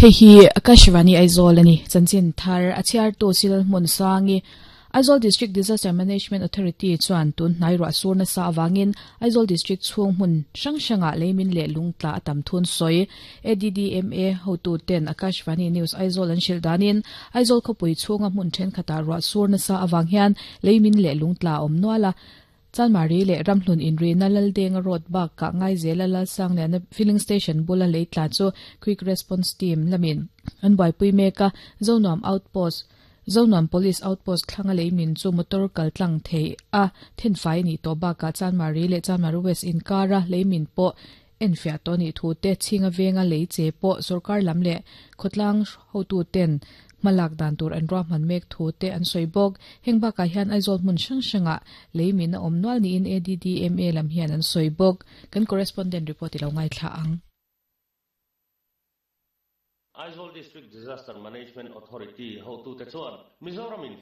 Hei hi Akashvani Aizawl a ni. Chanchin thar a chhiartu Silal Hmunsangi, Aizawl District Disaster Management Authority chuan tun hnai ruah sur nasa avangin Aizawl District chhung hmun hrang hrangah leimin leh lungtla a tam thun sawi. ADDMA hotuten Akashvani News Aizawl an hrilh danin Aizawl khawpui chhunga hmun thenkhatah ruah sur nasa avang hian leimin leh lungtla a awm nual a. Chanmari leh Ramhlun inrina Laldenga Road bakah Ngaizela Lalsangliana Filling Station bula lei tla chu Quick Response Team lamin an buaipui mek a, Zonuam Outpost, Zonuam Police Outpost thlanga lei min chu motor kal tlang thei a thenfai a nih tawh bakah Chanmari leh Chanmari West inkara lei min pawh enfiah tawh a nih thu te, Chhinga venga lei che pawh sorkar lam leh khawtlang hotuten hmalak dan tur an ruahman mek thu te an sawi bawk. Heng bakah hian Aizawl hmun hrang hrangah lei min a awm nual niin ADDMA lam hian an sawi bawk. Kan correspondent report i lo ngaithla ang. Aizawl District Disaster Management Authority hotute chuan Mizoram in.